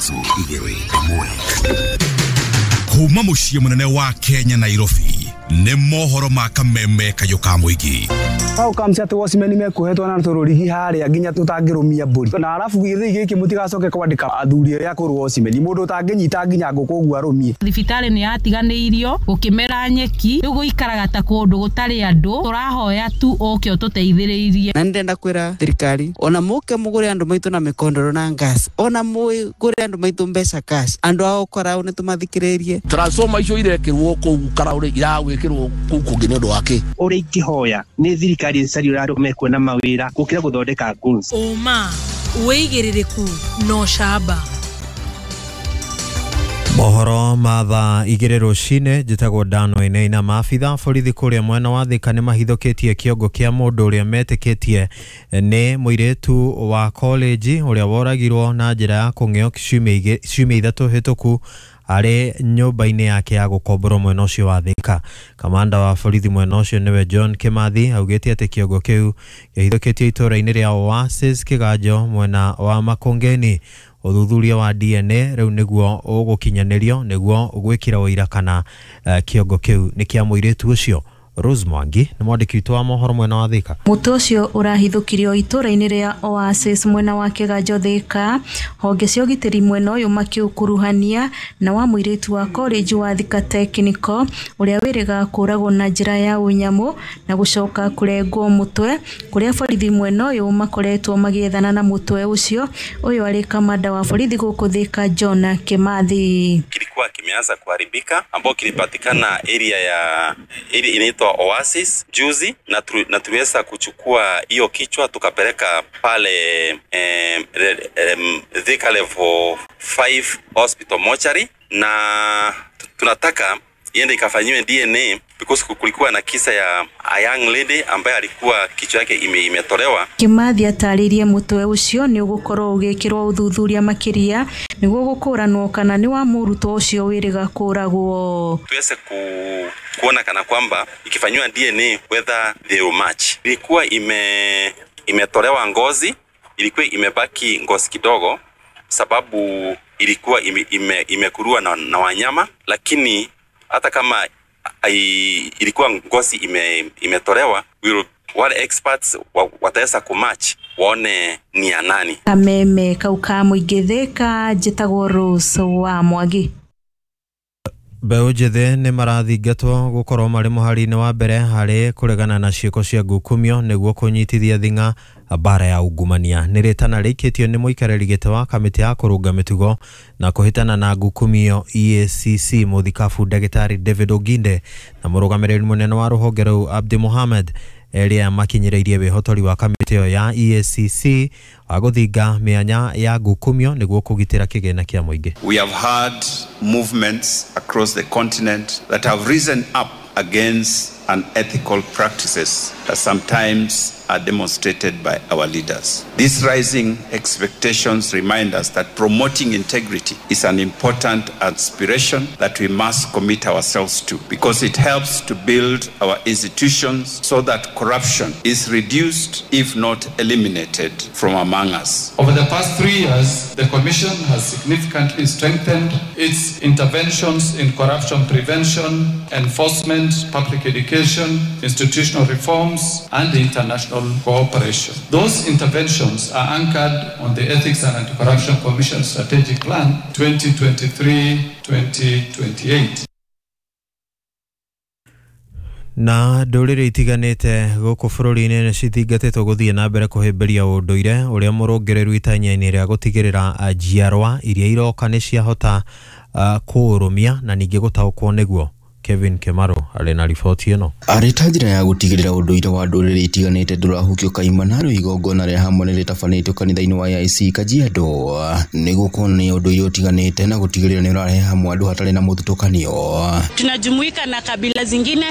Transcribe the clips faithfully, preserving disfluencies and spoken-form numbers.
Ithatũ igĩrĩ ĩmwe. Kuma mũciĩ mũnene wa Kenya Nairobi nĩ mohoro ma kameme kayũ ka mũingĩ. How comes atĩ watchman mekuohetwo na tũrũrigi harĩa nginya tũtangĩrũmia mbũri na arabu gĩthĩi gĩkĩ mũtigacoke kwandĩka athuri arĩa akũrũ watchman mũndũ ũtangĩnyita nginya ngũkũ ũguo arũmie. Thibitarĩ nĩ yatiganĩirio gũkĩmera nyeki rĩu gũikaraga ta kũndũ gũtarĩ andũ tũrahoya tu ũke ũtũteithĩrĩrie. Na ndĩrenda kwĩra thirikari ona mũke mũgũre andũ maitũ na mĩkondoro na gas ona mũgũre andũ maitũ mbeca cash andũ ao karau nĩ tũmathikĩrĩrie. Transformer icio irekĩrwo kũu karau rĩ iragwĩkĩrwo kũu kũngĩ nĩ ũndũ wa kĩ? Ũrĩa ingĩhoya nĩ thirikari ĩcarie ũrĩa andũ mekuona mawĩra gũkĩra gũthondeka goons. Ũma wĩigĩrĩrĩku na ũcamba. Mohoro ma thaa igĩrĩ rũcinĩ njĩtagwo Dan Wainaina. Maabitha borithi kũrĩa mwena wa Thika nĩ mahithũkĩtie kĩongo kĩa mũndũ ũrĩa metĩkĩtie nĩ mũirĩtu wa college ũrĩa woragirwo na njĩra ya kũng'eo ciumia ithatũ hĩtũku arĩ nyũmba-inĩ yake ya gũkomborwo mwena ũcio wa Thika. Kamanda wa borithi mwena ũcio nĩwe John Kimathi augĩte atĩ kĩongo kĩu kĩhithũkĩtio itũũra-inĩ rĩa Oasis Kĩganjo mwena wa Makongeni. Ũthuthuria wa D N A rĩu nĩguo ũgũkinyanĩrio nĩguo gwĩkĩra ũira kana uh, kĩongo kĩu nĩ kĩa mũirĩtu ũcio. Rose Mwangi nĩ mwandĩki witũ wa mohoro mwena wa Thika. Mũtwe ũcio ũrahithũkirio itũũra-inĩ rĩa Oasis mwena wa Kĩganjo Thika. Honge cia ũgitĩri mwena ũyũ makĩũkuruhania na wa mũirĩtu wa college wa Thika Technical ũrĩa wĩrĩga kũragwo na njĩra ya ũnyamũ na gũcoka kũrengwo mũtwe kũrĩa borithi mwena ũyũ makoretwo magĩethana na mũtwe ũcio. Ũyũ arĩ kamanda wa borithi gũkũ Thika John Kimathi. Kilikuwa kimeanza kuharibika ambao kilipatikana area ya area inaitwa Oasis juzi, na, tu, na tuliweza kuchukua hiyo kichwa tukapeleka pale eh, eh, Thika level five hospital mortuary, na tunataka iende ikafanyiwe D N A because kulikuwa na kisa ya a young lady ambaye alikuwa kichwa yake ime, imetolewa. Kimathi atarĩirie mũtwe ũcio nĩ ũgũkorwo ũgĩkĩrwo ũthuthuria makĩria nĩguo gũkũranwo kana nĩ wa mũrutwo ũcio wĩrĩga kũragwo. Tuweze ku, kuona kana kwamba ikifanyiwa D N A whether they will match. Ilikuwa ime imetolewa ngozi, ilikuwa imebaki ngozi kidogo sababu ilikuwa ime, ime, imekurua na, na wanyama, lakini hata kama ai, ilikuwa ngozi ime, imetolewa, will wale experts wataweza kumatch waone ni ya nani. Kameme kauka mũingĩ Thika, njĩtagwo Rose wa Mwangi. Mbeũ njĩthĩ nĩ marathingatwo gũkorwo marĩ mũhari-inĩ wa mbere harĩ kũregana na ciĩko cia ngukumio nĩguo kũnyitithia thing'a mbara ya ungumania. Nĩ rĩtana rĩikĩtio nĩ mũikarĩri gĩtĩ wa kamĩtĩ ya kũrũnga mĩtugo na kũhĩtana na ngukumio E A C C mũthikabu ndagĩtarĩ David Oginde na mũrũgamĩrĩri mũnene wa rũhonge rũu Abdi Mohamed erĩa makinyĩrĩirie wĩhotori wa kamĩtĩ ĩyo ya E A C C wa gũthinga mĩanya ya ngukumio nĩguo kũgitĩra kĩgĩna kĩa mũingĩ. We have had movements across the continent that have risen up against unethical practices that sometimes are demonstrated by our leaders. These rising expectations remind us that promoting integrity is an important aspiration that we must commit ourselves to, because it helps to build our institutions so that corruption is reduced, if not eliminated, from among us. Over the past three years, the Commission has significantly strengthened its interventions in corruption prevention, enforcement, public education, institutional reforms, and international cooperation. Those interventions are anchored on the Ethics and Anti-Corruption Commission Strategic Plan twenty twenty-three to twenty twenty-eight. Na ndũrĩrĩ itiganĩte gũkũ bũrũri-inĩ nĩ cithingatĩtwo gũthiĩ na mbere kũhĩmbĩria ũndũire ũrĩa mũrũngĩrĩru itanya-inĩ rĩa gũtigĩrĩra njiarwa iria iroka nĩ ciahota uh, kũũrũmia na ningĩ gũtaũkwo nĩguo. Kevin Kemaro arĩ na riboti ĩno. Arĩ ta njĩra ya gũtigĩrĩra ũndũire wa ndũrĩrĩ itiganĩte ndũrahukio kaimana rĩu igongona rĩa hamwe nĩ rĩtabanĩtio kanitha-inĩ wa A I C Kajiado nĩguo kuonania ũndũire ũtiganĩte na gũtigĩrĩra nĩ ũrarehe hamwe andũ hatarĩ na mũthutũkanio. Tunajumuika na kabila zingine,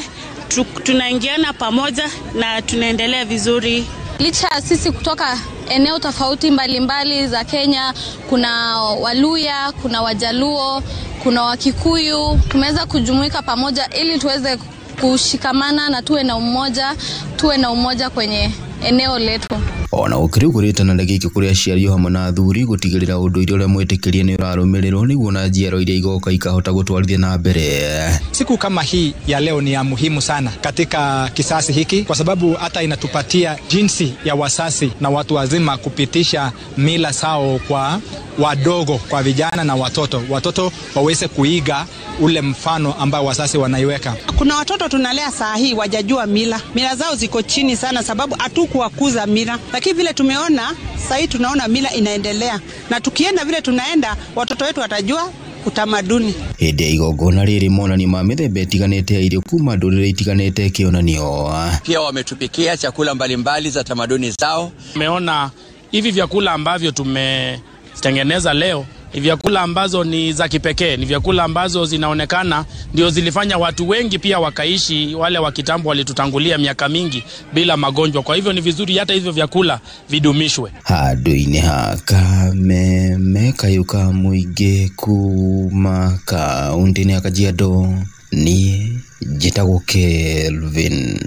tunaingiana pamoja na tunaendelea vizuri. Licha sisi kutoka eneo tofauti mbalimbali za Kenya, kuna Waluya, kuna Wajaluo, kuna Wakikuyu, tumeweza kujumuika pamoja ili tuweze kushikamana na tuwe na umoja, tuwe na umoja kwenye eneo letu. Ona gũkĩrĩ ũguo rĩtana rĩgĩikio kũrĩ aciari o hamwe na athuri gũtigĩrĩra ũndũire ũrĩa mwĩtĩkĩrie nĩ ũrarũmĩrĩrwo nĩguo na njiaro iria igoka ikahota gũtwarithia na mbere. Siku kama hii ya leo ni ya muhimu sana katika kisasi hiki kwa sababu hata inatupatia jinsi ya wasasi na watu wazima kupitisha mila sao kwa wadogo, kwa vijana na watoto. Watoto waweze kuiga ule mfano ambao wasasi wanaiweka. Kuna watoto tunalea saa hii wajajua mila. Mila zao ziko chini sana sababu hatukuwakuza mila. Lakini vile tumeona saa hii tunaona mila inaendelea, na tukienda vile tunaenda watoto wetu watajua utamaduni. Hĩndĩ ya igongona rĩrĩ monanio ma mĩthemba ĩtiganĩte ya irio kuma ndũrĩrĩ itiganĩte kĩonanio. Pia wametupikia chakula mbalimbali za tamaduni zao. Tumeona hivi vyakula ambavyo tumetengeneza leo ni vyakula ambazo ni za kipekee, ni vyakula ambazo zinaonekana ndio zilifanya watu wengi pia wakaishi, wale wa kitambo walitutangulia miaka mingi bila magonjwa. Kwa hivyo ni vizuri hata hivyo vyakula vidumishwe. Handũ-inĩ ha Kameme kayũ ka mũingĩ kuma kaunti-inĩ ya Kajiado, niĩ njĩtagwo Kelvin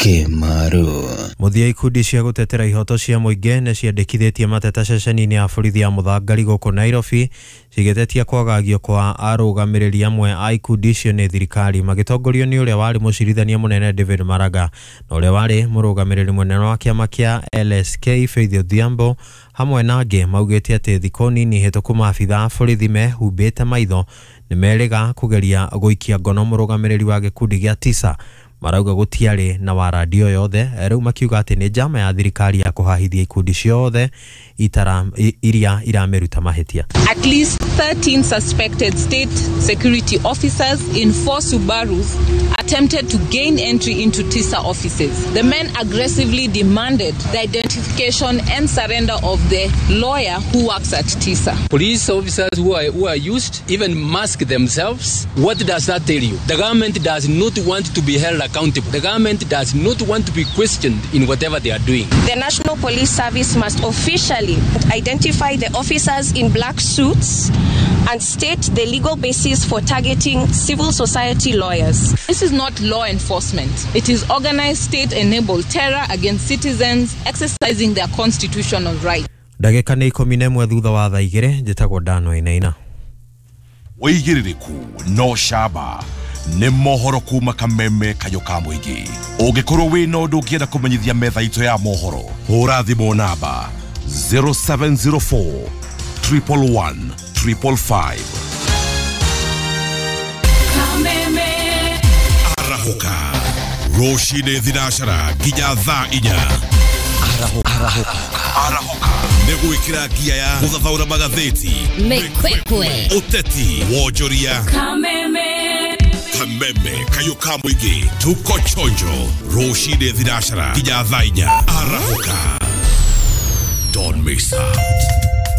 Kimaru. Mũthia ikundi cia gũtetera ihoto cia mũingĩ nĩ ciandĩkithĩtie mateta ceceni-inĩ ya borithi ya Mũthangari gũkũ Nairobi cigĩtetia kwagagio kwa arũgamĩrĩri amwe a ikundi icio nĩ thirikari magĩtongorio nĩ ũrĩa warĩ mũcirithania mũnene David Maraga na ũrĩa warĩ mũrũgamĩrĩri mũnene wa kĩama kĩa L S K Faith Odhiambo hamwe na angĩ maugĩte atĩ thikũ nini hĩtũku maabitha a borithi mehumbĩte maitho nĩ merĩga kũgeria gũikia ngono mũrũgamĩrĩri wa gĩkundi gĩa tisa. Marauga gũtiarĩ na warandio yothe rĩu makiuga atĩ nĩ njama ya thirikari ya kũhahithia ikundi ciothe itara iria iramĩruta mahĩtia. At least thirteen suspected state security officers in four Subarus attempted to gain entry into Tisa offices. The men aggressively demanded the identification and surrender of the lawyer who works at Tisa. Police officers who are, who are used even mask themselves. What does that tell you? The government does not want to be held accountable. The government does not want to be questioned in whatever they are doing. The National Police Service must officially identify the officers in black suits and state the legal basis for targeting civil society lawyers. This is not law enforcement. It is organized state-enabled terror against citizens exercising their constitutional rights. Ndagĩka nĩ ikũmi na ĩmwe thutha wa thaa igĩrĩ njĩtagwo Dano Inaina. Wĩigĩrĩrĩku no camba nĩ mohoro kuma Kameme kayũ ka mũingĩ. Ũngĩkorwo wĩna ũndũ ũngĩenda kũmenyithia metha itũ ya mohoro, hũra thimũ namba zero seven zero four triple one triple five. Kameme Arahoka rũcinĩ thinacara nginya thaa inya. Arahoka Arahoka nĩ gwĩkĩra ngia ya gũthathaũra magathĩti, mĩkwekwe, ũteti, wonjoria. Kameme Kameme kayũ ka mũingĩ tuko chonjo rũcinĩ thinacara nginya thaa inya. Arahoka.